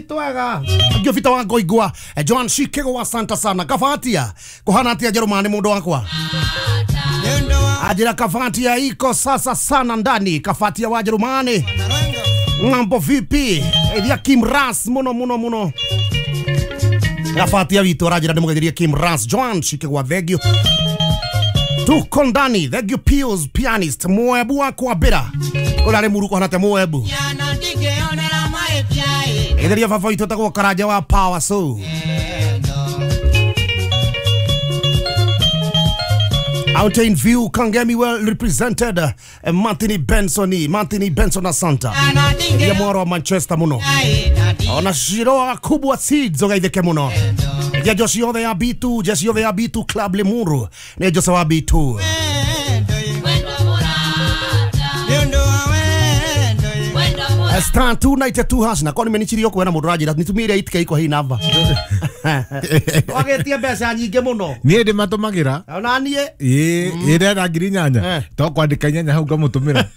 Twega ngĩobita wa ngoigwa John Shikego wa Santa sana kabatia kuhana atia Jerumani mundu wakwa ajira kafatia iko sasa sana ndani kafatia wa Jerumani ng'ambo vipi ithia Kim Ras muno muno muno kafatia witu arajira ndimugetherie Kim Ras John Shikego thengio tuko ndani thengio Pius pianist mwebu wakwa bira urari muru kuhana te mwebu Etheria baba witũ etagwo Karanja wa Power so Mountain View Kangemi well represented Martini Benson asanta ya mwaro wa Manchester muno ona shiroa kubwa seeds ogaitheke muno ya Joshi othe ya B2 Joshi othe ya B2 Club Limuru ne Jose wa B2 Star 292 hash na koni menichirio kwena mundu rajira nitumire itike iko hii namba wagetie mbeca nyingi muno nie ndi matumagira ona nie ii ire ngiri nyanya to kwandika nyanya hau ngamutumira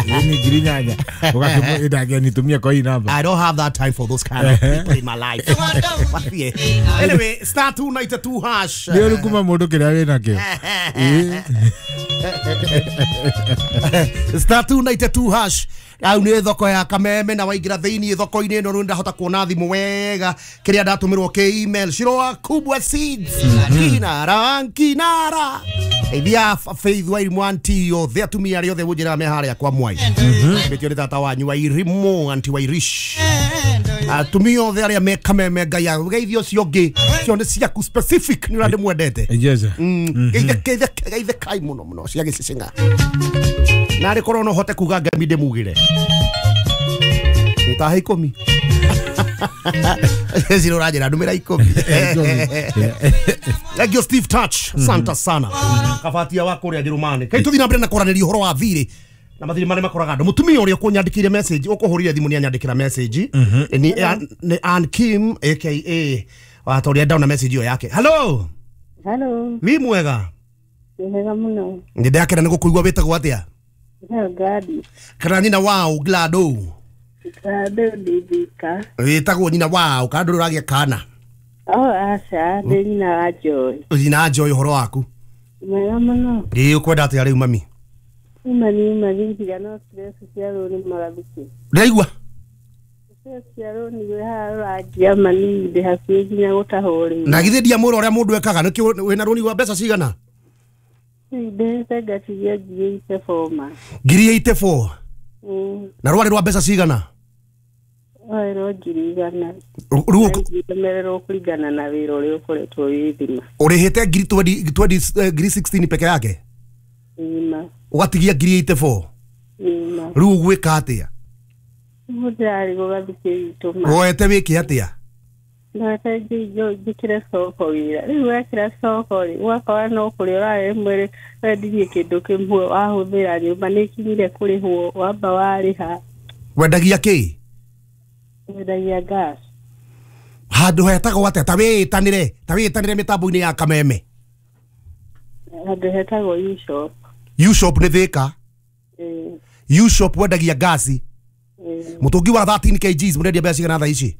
ii ni ngiri nyanya ugakimu nitumie kwa hii namba. I don't have that time for those kind of people in my life. Anyway, star 292 hash ni urukuma mundu kiria wina kio star 292 hash au ni thoko ya Kameme na waingira thiini thoko-ini ino ndahota kuona thimu wega kiria ndatumirwo ki email Shiroa Kubwa Seeds kinara kinara ithia Faith wa Irimu anti othe atumia aria othe wunjira me haria kwa Mwai mbetio ni tata wanyu wa Irimu anti wa Irish atumia othe aria me Kameme Ngai ageithio ũcio ũngĩ cio nĩ ciaku specific ni ũrĩa ndĩmwendete geithe kai muno muno cia gĩcicinga narĩ korwo no hote kuga ngemi ndĩmugĩre nĩ taha 10 Zero rajira ndumĩra 10 Thank you Steve Touch santa sana kabatia wa kũrĩa Jerumani kai tũthiĩ na mbere na kwaranĩria ũhoro wa thirĩ na mathirĩ marĩa makoraga andũ mũtumia ũrĩa ũkũnyandĩkĩire message ũkũhũrire thimũ nĩ anyandĩkĩra message ni Ann Kim aka wa ũrĩa ndaona message ĩyo yake. Hello. Hello. Wi mwega? Nĩ mwega mũno. Nĩ ndakena nĩ gũkũigua wĩtagwo atĩa? Gladys. Kana nyina wao Glado. Glado ndithika. Wĩtagwo nyina wao kana ndũrĩ ũragĩa kana? Oh aca ndĩ nyina wa Joy. Nyina wa Joy ũhoro waku? Mwega mũno. Ĩĩ ũkwenda atĩa rĩu mami? Mami nginya no stress cia rũni magathiki. Ndĩraigua? Stress cia rũni wĩ haha ũrangia mami ndĩ hakuhĩ nginya gũtahwo rĩu. Na githĩ ndiamwĩra ũrĩa mũndũ ekaga nĩkĩo wĩna rũni rwa mbeca cigana? Mbeca ngatigia ngiri 84 ma. Ngiri 84? Na rwarĩ rwa mbeca cigana? Rwarĩ rwa ngiri 100. Rĩu ũmererwo kũringana na wĩra ũrĩa ũkoretwo wĩ thima. Ũrĩhĩte ngiri 20 ngiri 16 peke yake? Ĩma. Ũgatigia ngiri 84? Ĩma. Rĩu ũgwĩka atĩa? Mũndũ gũgathikĩ itũ ma. Woete wĩke atĩa? Noete njĩkĩre soko wĩra. Rĩu wekĩra soko rĩ, ũgakora no kũrĩa ũrarĩ mwĩrĩ wendirie kĩndũ kĩmwe wahũthĩra nyũmba nĩ ĩkinyire kũrĩhwo wamba warĩha. Wendagia kĩ? Wendagia gas. Handũ hetagwo atĩa? Ta wĩĩtanĩre mĩtambo-inĩ ya Kameme. Handũ hetagwo U-Shop. U-Shop nĩ Thĩka? U-Shop wendagia gasi. Mũtũngi wa 13 kgs mũrendia mbeca cigana thaa ici?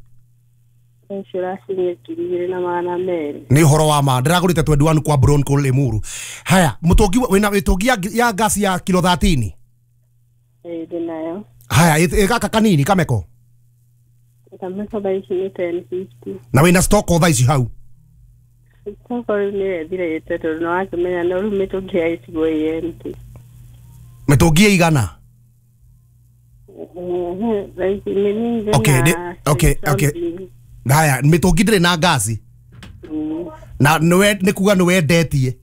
Nĩ ũhoro wa ma ndĩragũrĩte 21 kwa Bronco Limuru. Haya mũtũngi wĩna mĩtũngi ya gasi ya kilo 13? Ĩĩ ndĩnayo. Haya gaka kanini kameko? Kameko thaa ici nĩ 1050. Na wĩna stock o thaa ici hau? Stock rĩu nĩ ĩthirĩte tondũ nĩ wakĩmenya no rĩu mĩtũngi ya icigo ĩ empty. Mĩtũngi ĩigana? Okay. Haya mĩtũngi ndĩrĩ na gasi. Na nĩ kuga nĩ wendetie?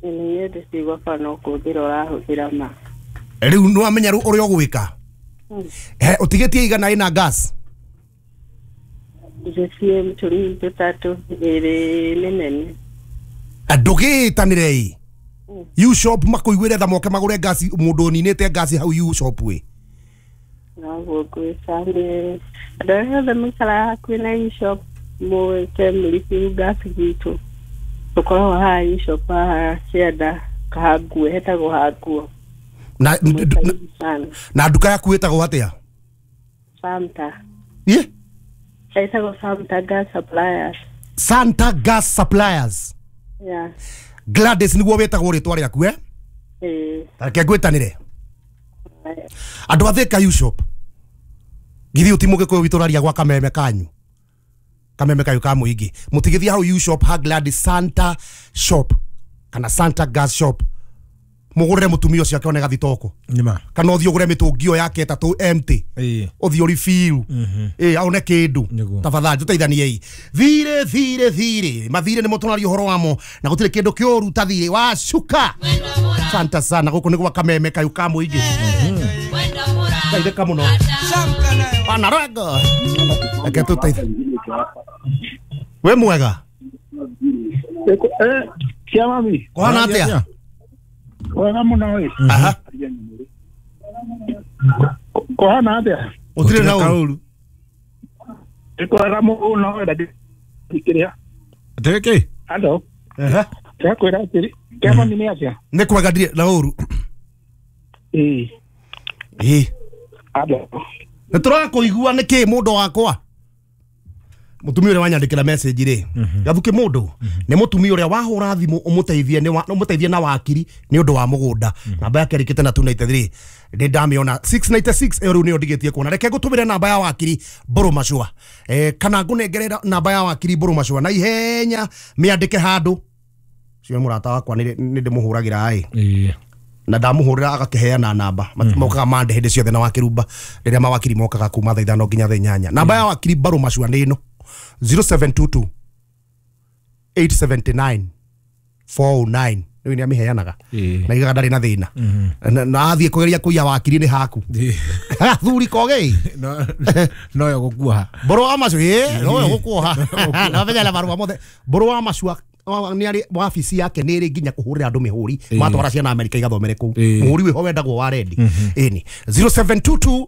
Nĩ gwakwa no kũhũthĩra ũrahũthĩra ma. Rĩu nĩ wamenya rĩu ũrĩa ũgwĩka? Ũtigĩtie igana ĩna gas? Njĩtie mĩtũngi tũtatũ ĩrĩ mĩnene. Ndũgĩĩtanĩre ĩ U-Shop makũiguĩre tha moke magũre gasi mũndũ ũninĩte gasi hau U-Shop ĩ. Noguo ngwĩka nĩ andũ arĩa othe maikaraga hakuhĩ na U-Shop mũĩte mũrĩbĩru gasi gwitũ. Tũkoragwo haha U-Shop haha Cianda Kahangue hetagwo Hanguo. Na nduka yaku ĩtagwo atĩa? Santa. Ĩ? Etagwo Santa Gas Suppliers. Santa Gas Suppliers. Yeah. Gladys niguo wetagwo ritwa riaku eh? Eh. Reke ngwitanire. Andu a Thika U-Shop. Githi uti mugikuyu witu raria gwa kameme kanyu. Kameme kayu ka muingi. Mutigithia hau U-Shop ha Gladys Santa Shop kana Santa Gas Shop. Mugurire mutumia ucio akione gathitoko. Nima. Kana uthii ugure mitungio yake tatu empty. Uthii urifill. Aone kindu. Tafadhali tuteithaniei. Thire thire thire. Mathire ni mutunari uhoro wamo na gutire kindu kiuru ta thire wa cuka. Santa sana guku ni gwa kameme kayu ka muingi. Teithika muno. Pana rego. Reke tuteithie. We mwega. Cia mami. Kuhana atia? Wega muno we. Aha. Kuhana atia? Utire na uru. Kwega muno we ndakiria. Atĩrĩ Ando. Aha. Ndakwĩra atĩrĩ. Kia mami nĩ atia? Nĩ kwega ndire na uru. Ĩĩ. Ĩĩ. Ando. Nĩ tũrakũigua nĩkĩ mũndũ wakwa? Mutumia uria wanyandikira message ri gathuki mundu ni mutumia uria wahura thimu umuteithie ni umuteithie na wakiri ni undu wa mugunda namba yake rikite na 293 ndi ndamiona 696 ero ni ndigitie kuona reke ngutumire namba ya wakiri Mburu Macua kana ngunengere namba ya wakiri Mburu Macua na ihenya miandike handu cio murata wakwa ni ndimuhuragira ai na ndamuhurira agakiheana namba mokaga mande hindi ciothe na wakirumba riria mawakiri mokaga kuma thaa 5 nginya thaa 8 namba ya wakiri Mburu Macua ni ino 0722 879 409 ni ni amiheanaga na igaga ndari na thina na athie kugeria kuiya wakiri ni haku thuri kogei no yo gukuoha Mburu wa Macua no yo gukuoha na menya na marua mothe Mburu wa Macua ni ari wabici yake ni ri nginya kuhurira andu mihuri matwara ciana Amerika igathomere kuu muhuri wiho wendagwo wa rendi ini 0722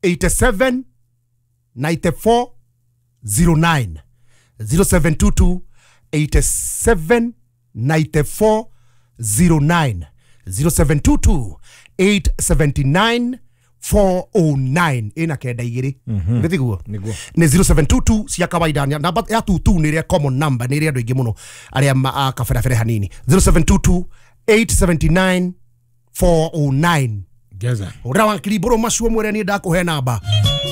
87 94 09 0722 87 94 09 0722 879 409 ina kenda igiri nithiguo ni 0722 cia kawaida namba ya 22 ni ria common number ni ria andu aingi muno aria kaberabere hanini 0722 879 409 Geza ura wakiri Mburu Macua mwere ni ndakuhe namba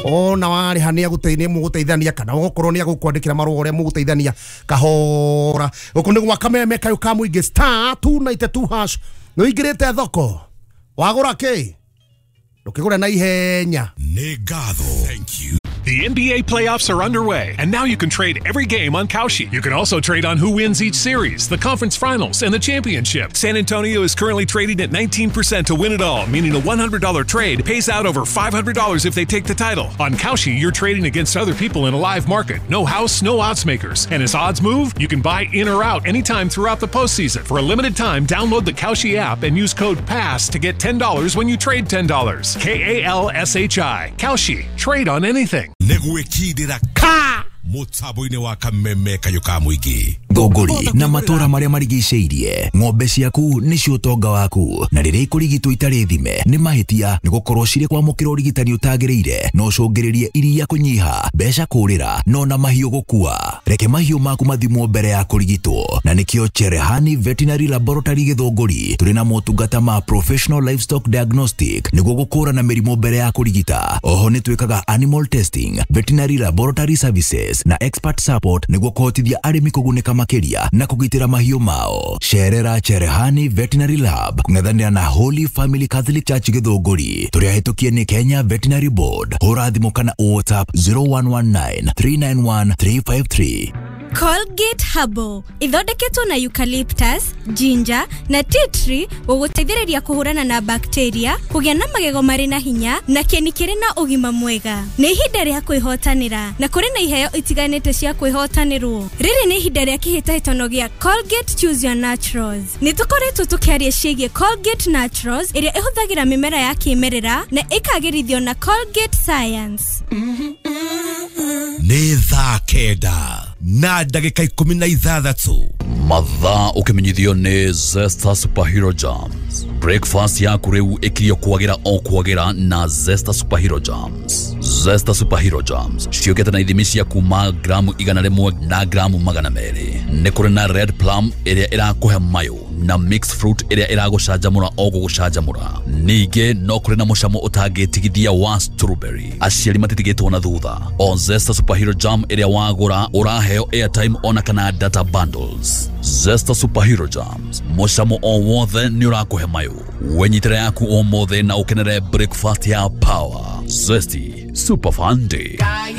ona wariha ni aguteithia muguteithania kana ugukorwo ni agukwandikira marũa uria muguteithania kahora guku ni gwa kameme kayu ka muingi star 292 hash no ingirite thoko wagura ki ndukigure na ihenya ni ngatho. Thank you. The NBA playoffs are underway, and now you can trade every game on Kalshi. You can also trade on who wins each series, the conference finals, and the championship. San Antonio is currently trading at 19% to win it all, meaning a $100 trade pays out over $500 if they take the title. On Kalshi, you're trading against other people in a live market. No house, no odds makers. And as odds move, you can buy in or out anytime throughout the postseason. For a limited time, download the Kalshi app and use code PASS to get $10 when you trade $10. K-A-L-S-H-I. Kalshi. Trade on anything. Negwikindira ka mutambo-ini wa kameme kayu ka muingi Thũngũri na matũra marĩa marigicĩirie ng'ombe ciaku nĩcio ũtonga waku na rĩrĩa ikũrigitwo itarĩ thime nĩ mahĩtia nĩ gũkorwo cirĩ kwamũkĩra ũrigitani ũtagĩrĩire no ũcũngĩrĩrie iria kũnyiha mbeca kũrĩra no na mahiũ gũkua reke mahiũ maku mathimwo mbere ya kũrigitwo na nĩkĩo Cherehani Veterinary Laboratory Gĩthũngũri tũrĩ na motungata ma professional livestock diagnostic nĩguo gũkũrana mĩrimũ mbere ya kũrigita oho nĩ twĩkaga animal testing veterinary laboratory services na expert support nĩguo kũhotithia arĩmi kũgunĩka makĩria na kũgitĩra mahiũ mao. Cerera Cherehani Veterinary Lab kũng'ethanĩra na Holy Family Catholic Church Gĩthũngũri tũrĩ ahĩtũkie nĩ Kenya Veterinary Board. Hũra thimũ kana WhatsApp 0119 391 353. Colgate Herbal ithondeketwo na eucalyptus, ginger na tea tree gũgũteithĩrĩria kũhũrana na bacteria, kũgĩa na magego marĩ na hinya na kĩni kĩrĩ na ũgima mwega. Nĩ ihinda rĩa kwĩhotanĩra na kũrĩ na iheo itiganĩte cia kwĩhotanĩrwo. Rĩrĩ nĩ ihinda rĩa kĩhĩtahĩtano gĩa Colgate Choose Your Naturals. Nĩ tũkoretwo tũkĩaria ciĩgiĩ Colgate Naturals ĩrĩa ĩhũthagĩra mĩmera ya kĩmerera na ĩkagĩrithio na Colgate Science. Nĩ thaa 9 na ndagĩka 16. Mathaa ũkĩmenyithio nĩ Zesta Superhero Jams. Breakfast yaku rĩu ĩkirio kwagĩra o kwagĩra na Zesta Superhero Jams. Zesta Superhero Jams ciũkĩte na ithimi cia kuma gramu 100 na gramu 200. Nĩ kũrĩ na red plum ĩrĩa ĩrakũhe mayũ na mixed fruit ĩrĩa ĩragũcanjamũra o gũgũcanjamũra. Ningĩ no kũrĩ na mũcamo ũtangĩtigithia wa strawberry. Aciari matitigĩtwo na thutha. O Zesta Superhero Jam ĩrĩa wagũra ũraheo airtime ona kana data bundles. Zesta Superhero Jams, mũcamo o wothe nĩ ũrakũhe mayũ. Wenyitĩra yaku ũmũthĩ na ũkenere breakfast ya power. Zesty Super Fun Day.